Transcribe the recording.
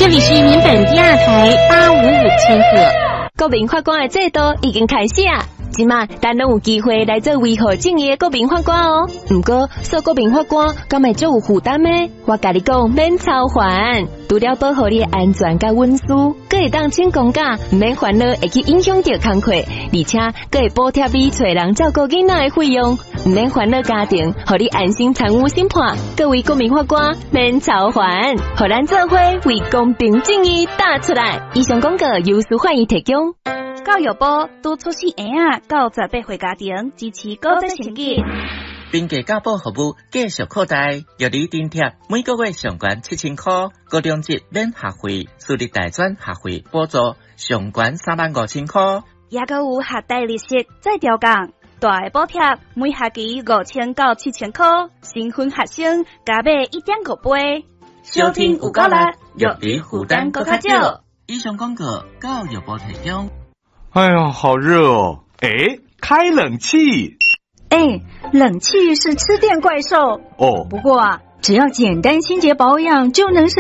這裡是民本第二台855千赫。國民法官的制度已經開始啊！這馬咱攏有機會來做維護正義的國民法官哦。毋過做國民法官，敢會足有負擔的？我共你講，免操煩，除了保護你的安全佮隱私，閣會當請公假，毋免煩惱會去影響著工課，而且閣會補貼你揣人照顧囡仔的費用，毋免煩惱家庭，予你安心參與審判。各位國民法官，免操煩，予咱做伙為公平正義打出來。以上廣告由司法院提供。教育部拄出世嬰仔到18歲家庭支持高職升級。平價教保服務繼續擴大，育兒津貼每個月上懸7000箍，高中職免學費，私立大專學費補助上懸3萬5千箍。抑閣有學貸利息再調降，大的補貼每學期5000到7000箍，新婚學生加碼1.5倍。收聽有夠力，育兒負擔閣較少。以上廣告，教育部提供。哎呀，好熱哦！哎，開冷氣。哎，冷氣是吃電怪獸哦。不過啊，只要簡單清潔保養就能省。